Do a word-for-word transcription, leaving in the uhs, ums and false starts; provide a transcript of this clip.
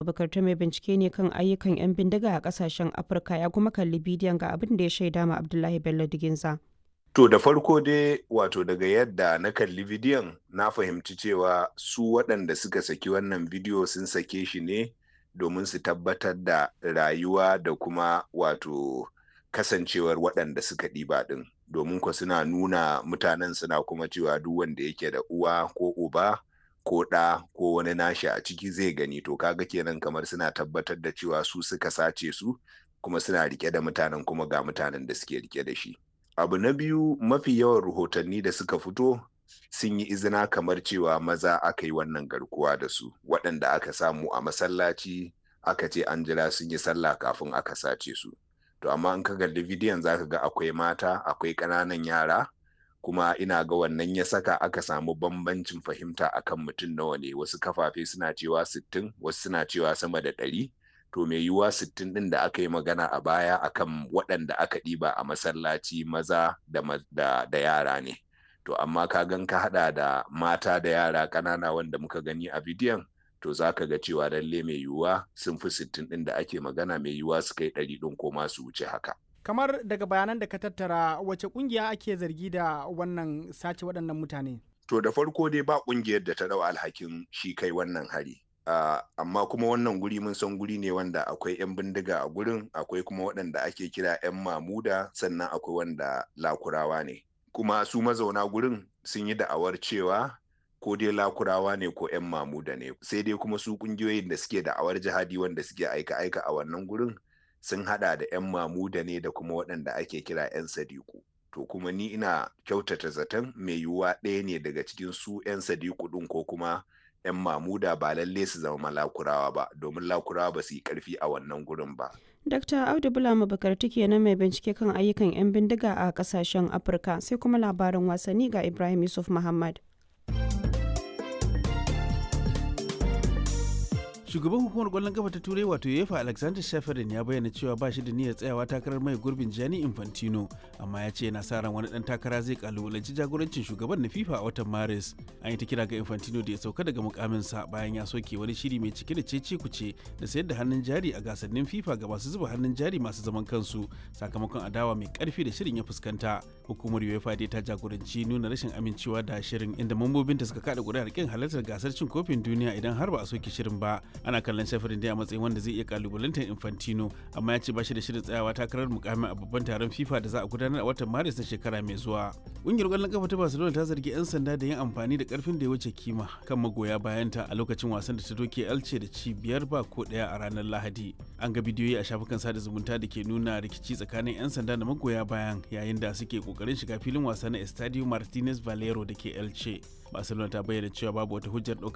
Bukartu mai bincike ne kan ayyukan 'yan bindiga a kasashen Afirka ya kuma kalli bidiyon ga abin da ya shaida ma Abdullahi Bello Diginza. To da farko dai wato daga yadda na kalli bidiyon na fahimci cewa su waɗanda suka saki wannan bidiyo sun sake shi ne domin su tabbatar da rayuwa da kuma wato kasancewar waɗanda suka ɗiba ɗin domin ko suna nuna mutanen suna kuma cewa duk wanda yake da uwa ko uba ko ɗa ko wani nashi a ciki zai gani to kaga kenan kamar suna tabbatar da cewa su suka sace su kuma suna rike da mutanen kuma ga mutanen da suke rike da shi. Abu na biyu, mafi yawan rahotanni da suka fito sun yi izina kamar cewa maza aka yi wannan garkuwa da su, waɗanda aka samu a masallaci aka ce an jira sun yi sallah kafin aka sace su. To amma in ka kalli bidiyon zaka ga akwai mata, akwai ƙananan yara, kuma ina ga wannan ya saka aka samu bambancin fahimta akan mutum nawa ne. Wasu kafafe suna cewa sittin, wasu suna cewa sama da ɗari. To mai yiwuwa sittin ɗin da aka yi magana a baya akan waɗanda aka ɗiba a masallaci maza da, da, da yara ne. To amma ka gan ka haɗa da mata da yara ƙanana wanda muka gani a bidiyon, to za ka ga cewa lalle mai yiwuwa sun fi sittin ɗin da ake magana, mai yiwuwa su kai ɗari ɗin ko ma su wuce haka. Kamar daga bayanan da ka tattara, wace ƙungiya ake zargi da wannan sace waɗannan mutane? To da farko dai ba ƙungiyar da ta ɗau alhakin shi kai wannan hari. Uh, amma kuma wannan guri mun san guri ne wanda akwai 'yan bindiga a gurin, akwai kuma waɗanda ake kira 'yan mamuda, sannan akwai wanda lakurawa ne. Kuma su mazauna gurin sun yi da'awar cewa ko dai lakurawa ne ko 'yan mamuda ne, sai dai kuma su ƙungiyoyin da suke da'awar jihadi wanda suke aika-aika a wannan gurin sun hada da 'yan mamuda ne da kuma waɗanda ake kira 'yan sadiku. To kuma ni ina kyautata zaton mai yiwuwa ɗaya ne daga cikin su 'yan sadiku ɗin ko kuma 'yan mamuda, ba lalle su zama lakurawa ba, domin lakurawa ba su yi karfi a wannan gurin ba. Dakta Audu Bulama Bukarti kenan mai bincike kan ayyukan 'yan bindiga a kasashen Afirka. Sai kuma labarin wasanni ga Ibrahim Yusuf Muhammad. Shugaban hukumar kwallon kafa ta Turai wato UEFA, Alexander Shafarin, ya bayyana cewa ba shi da niyyar tsayawa takarar mai gurbin Gianni Infantino, amma ya ce yana sa ran wani dan takara zai kalubalanci jagorancin shugaban na FIFA a watan Maris. An yi ta kira ga Infantino da ya sauka daga mukaminsa bayan ya soke wani shiri mai cike da cece kuce da sayar da hannun jari a gasannin FIFA ga masu zuba hannun jari masu zaman kansu, sakamakon adawa mai karfi da shirin ya fuskanta. Hukumar UEFA dai ta jagoranci nuna rashin amincewa da shirin, inda mambobinta suka kada kuri'ar kin halartar gasar cin kofin duniya idan har ba a soke shirin ba. Ana kallon Shafirin dai a matsayin wanda zai iya kalubalantar Infantino, amma ya ce ba shi da shirin tsayawa takarar mukamin a babban taron FIFA da za a gudanar a watan Maris na shekara mai zuwa. Ƙungiyar ƙwallon kafa ta Barcelona ta zargi 'yan sanda da yin amfani da karfin da ya wuce kima kan magoya bayanta a lokacin wasan da ta doke Elche da ci biyar ba ko ɗaya a ranar Lahadi. An ga bidiyoyi a shafukan sada zumunta da ke nuna rikici tsakanin 'yan sanda da magoya bayan yayin da suke kokarin shiga filin wasa na Estadio Martinez Valero da ke Elche. Barcelona ta bayyana cewa babu wata hujjar ɗaukar